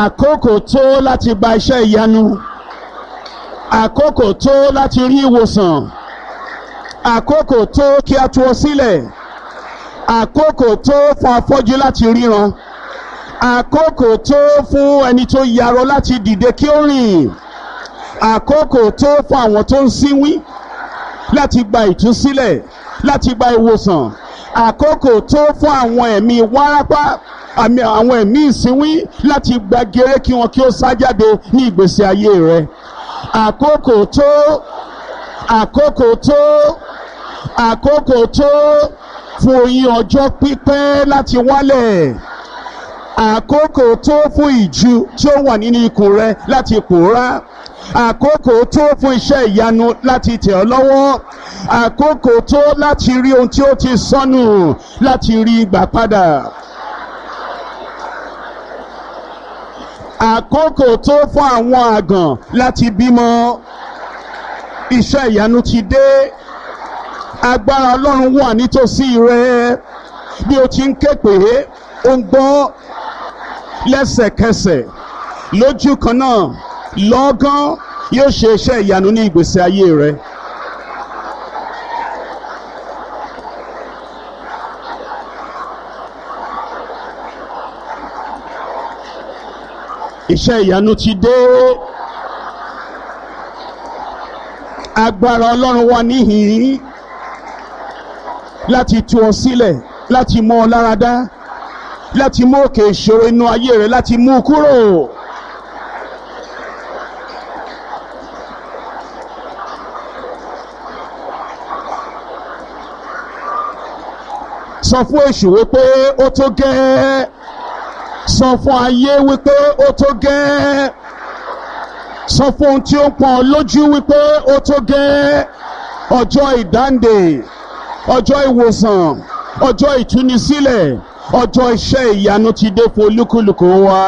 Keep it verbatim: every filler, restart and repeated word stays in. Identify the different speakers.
Speaker 1: Àkókò tó láti gba iṣẹ́ ìyanu. Àkókò tó láti rí ìwòsàn. Àkókò tó kí a tú ọ sílẹ̀. Àkókò tó fún afọ́jú láti ríran. Àkókò tó fún ẹni tó yarọ láti dìde kí ó rìn. Àkókò tó fún àwọn tó ń sínwín láti gba ìtúsílẹ̀, láti gba ìwòsàn. Àkókò tó fún àwọn ẹ̀mí wárápá, àmì àwọn ẹ̀mí ìsínwín láti gba gèrè kí wọn kí ó sá jáde ní ìgbésí ayé rẹ. Àkókò tó, àkókò tó, àkókò tó fún oyin ọjọ́ pípẹ́ láti wálẹ̀. Àkókò tó fún ìju tí ó wà nínú ikùn rẹ láti pòórá. Àkókò tó fún iṣẹ́ ìyanu láti tẹ̀ ọ́ lọ́wọ́. Àkókò tó láti rí ohun tí ó ti sọnù láti rí gbà padà. Àkókò tó fún àwọn àgàn láti bímọ. Iṣẹ́ ìyanu ti dé. Agbára Ọlọ́run wà nítòsí rẹ. Bí o ti ń ké pè é, ó ń gbọ́ lẹ́sẹ̀kẹsẹ̀ lójú kan náà, lọ́gán yóò ṣe iṣẹ́ ìyanu ní ìgbésí ayé rẹ. Iṣẹ́ ìyanu ti dé. Agbára Ọlọ́run wà níhìn-ín láti tú ọ sílẹ̀, láti mú ọ láradá, láti mú òkè ìṣòro inú ayé rẹ, láti mú u kúrò. Sọ fún èṣù wípé ó tó gẹ́. Sọ fún ayé wípé ó tó gẹ́. Sọ fún ohun tí ó ń pọ́n ọ lójú wípé ó tó gẹ́. Ọjọ́ ìdáǹdè, ọjọ́ ìwòsàn, ọjọ́ ìtúnisílẹ̀, ọjọ́ iṣẹ́ ìyanu ti dé fún olúkúlùkù wa.